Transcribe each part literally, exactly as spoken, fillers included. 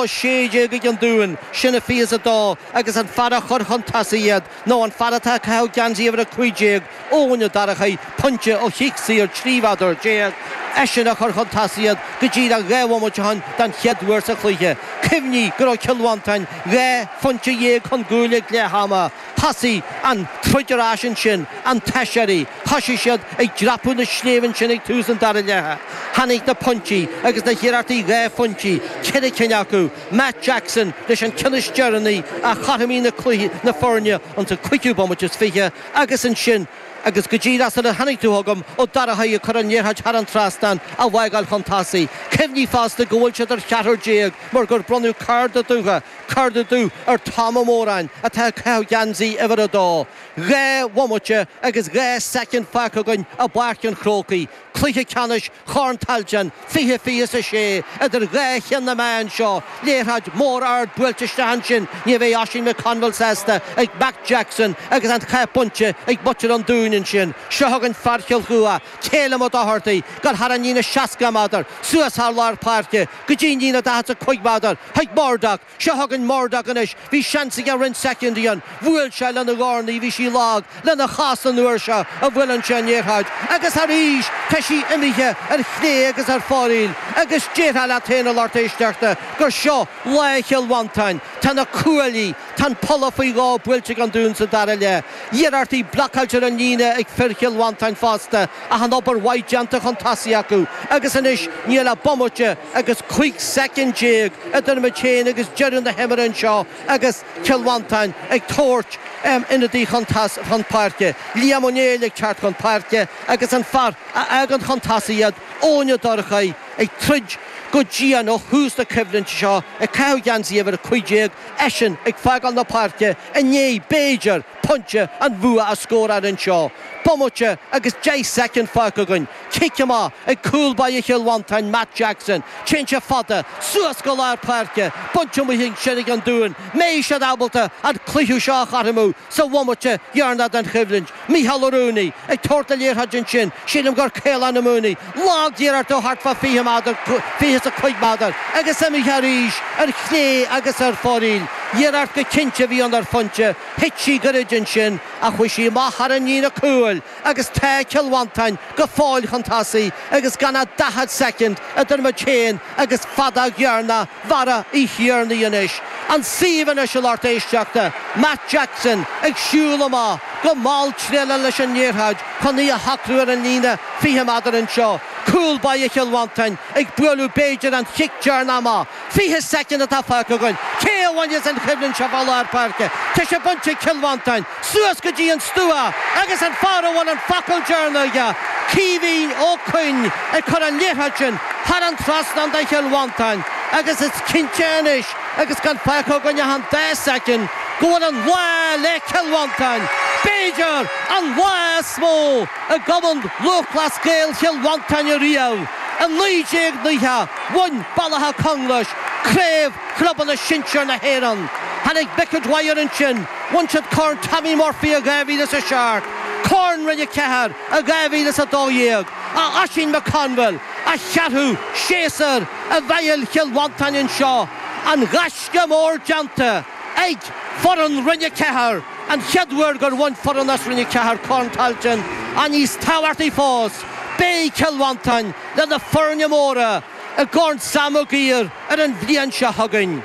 dó sé déag ag an Dún, sin a fiche is a dó, agus an fear a chuir chun tosaigh iad nó an fear atá ag caitheamh geansaí uimhir a cúig déag, Eoin Ó Dorchaigh, pointe ó chic saor trí mheadar déag, eisean a chuir chun tosaigh iad go díreach dhá bhomaite ó shin den chéad uair sa chluiche. Cuimhnigh go raibh Cill Mhantáin dhá phointe dhéag chun cúil ag leath ama. Thosaigh an troid ar ais ansin, an t-aiséirí. Thosaigh siad ag dreapadh na sléibhe ansin ag tús an dara leatha. Tháinig na pointí agus na hiarrachtaí dhá phointí, ceithre cinn acu, Matt Jackson leis an ceann is deireanaí a chothromaigh na cluichí na foirne ins an cúigiú bomaite is fiche agus ansin agus go díreach sula tháinig tú chugam, Ó Dorchaigh ag cur an liathróid thar an trasnán á bhfágáil chun tosaigh. Cuimhnigh fosta go bhfuil siad ar cheathrar déag mar gur bronnadh cárta dubh, cárta dubh ar Tom Ó Móráin atá ag caitheamh geansaí uimhir a dó. Dhá bhomaite agus dhá soicind fágtha againn i bPáirc an Chrócaigh. Cluiche ceannais Chorn Tailteann fiche fiche is a sé idir dhá cheann na meá anseo. Liathróid mhór ard buailte isteach ansin, ní bheidh Oisín McConville sásta ag Matt Jackson agus an chath bainte ag muintir an Dúin ansin. Seo chugainn fear Chill Chua, Calum Ó Dochartaigh, dul thar an líne seasca méadar, suas thar lár páirce go dtí an líne daichead is a cúig méadar chuig Murdoch. Seo chugainn Murdoch anois. Bhí seans aige roinnt soicindí ann. Bhuail sé lena dhorn í, bhí sí lag lena chos an uair seo a bhuaileann sé an liathróid. Agus arís tá sí imithe ar chlé agus ar fóraoil agus déarfá leat féin a lucht éisteachta gur seo lá Chill Mhantáin. Tá na cuaillí, tá an polla faoi dhó buailte ag an Dún sa dara leath. Iarrachtaí blocáilte ar an líne ag fir Chill Mhantáin fosta ach an obair mhaith déanta chun tosaigh acu agus anois níl ach bomaite agus cúig soicind déag idir muid féin agus deireadh na himeartha anseo agus Cill Mhantáin ag tabhairt ionadaí chun chun páirce. Liam Ó Néill ag teacht chun páirce agus an fear a fhágann chun tosaigh iad, Eoin Ó Dorchaigh, ag troid go dian ó thús na coimhlinte seo, ag caitheamh geansaí uimhir a cúig déag, eisean ag fágáil na páirce i ndiaidh, b'fhéidir, pointe an bhua a scóráil anseo. Bomaite agus deich soicind fágtha againn. Cic amach ag cúl báire Chill Mhantáin, Matt Jackson. Téann sé fada, suas go lár páirce, bainte amuigh ansin ag an Dún. Mbeidh siad ábalta an cluiche seo a chothromú sa bhomaite dheireanach den choimhlint? Micheál Ó Rúnaí ag tabhairt na liathróide ansin, sílim gur Caolán Ó Mooney. Lag-iarracht ó thart fá fiche méadar, fiche is a cúig méadar, agus imithe arís ar chlé agus ar fóraoil. Iarracht go cinnte a bhí ann ar phointe. Thit sí gairid ansin ach chuaigh sí amach thar an líne cúil agus tá Cill Mhantáin go fóill chun tosaigh agus gan ach daichead soicind idir muid féin agus feadóg dheireanach Bharra Uí Thiarnaigh anois. An suíomh anois a lucht éisteachta, Matt Jackson ag siúl amach go mall tréallach leis an liathróid chun í a shocrú ar an líne fiche méadar anseo. Cúl báire Chill Mhantáin ag bualadh b'fhéidir an chic deireanach amach. Fiche soicind atá fágtha againn. Cé a bhainfeas an choimhlint seo fá lár páirce? Tá sé bainte ag Cill Mhantáin. Suas go dtí an stua agus an fear a bhfuil an focal deireanach aige, Caoimhín Ó Coinn, ag cur an liathróid sin thar an trasnán do Chill Mhantáin agus is cinnte anois agus gan fágtha againn ach an dá soicind go bhfuil an lá le Cill Mhantáin. B'fhéidir an lá is mó i gCumann Lúthchleas Gael Chill Mhantáin ariamh. I naoi déag nócha, bhain Baile Átha Conglais Craobh Chlubanna Sinsir na hÉireann. Tháinig Mick O'Dwyer ansin, bhain siad Corn Tommy Murphy i dhá mhíle is a seacht, Corn Roinn a Ceathair i dhá mhíle is a dó dhéag, a Oisín McConville, a cheathrú séasúr i bhfeighil Chill Mhantáin anseo, an gaisce mór déanta ag foireann Roinn a Ceathair, an chéad uair gur bhain foireann as Roinn a Ceathair Corn Tailteann, ach níos tábhachtaí fós, beidh Cill Mhantáin le na foirne móra i gCorn Sam Maguire ar an bhliain seo chugainn.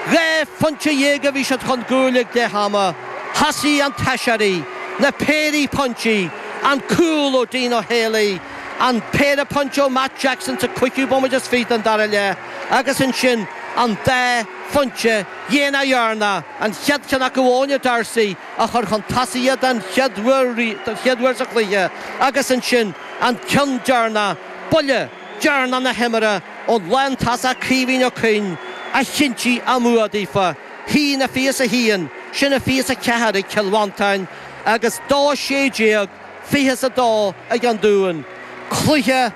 Dhá phointe dhéag a bhí siad chun cúil ag leath ama. Thosaigh an t-aiséirí, na péirí pointí, an cúl ó Dean Ó Héalaí, an péire pointe ó Matt Jackson sa cúigiú bomaite is fiche den dara leath agus ansin an dá phointe dhéanach dheireanach, an chéad cheann acu ó Áine D'Arcy a chuir chun tosaigh iad den chéad uair den chéad uair sa chluiche agus ansin an ceann deireanach, buille deireanach na himeartha ón lántosach Caoimhín Ó Coinn a chinntigh a mbua daofa. haon a fiche is a haon, sin a fiche is a ceathair ag Cill Mhantáin agus dó sé déag, fiche is a dó ag an Dún. Cluiche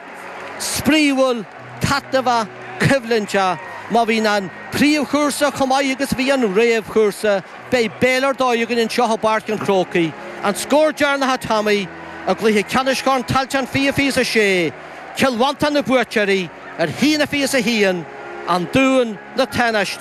spraíúil, taitneamhach, coimhlinteach. Má bhíonn an príomhchúrsa chomh maith agus a bhí an réamhchúrsa, beidh béile ar dóigh againn anseo i bPáirc an Chrócaigh. An scór deireanach a Tommy, i gcluiche ceannais Chorn Tailteann fiche fiche is a sé, Cill Mhantáin na buaiteoirí ar haon a fiche is a haon, An Dún na tánaistí.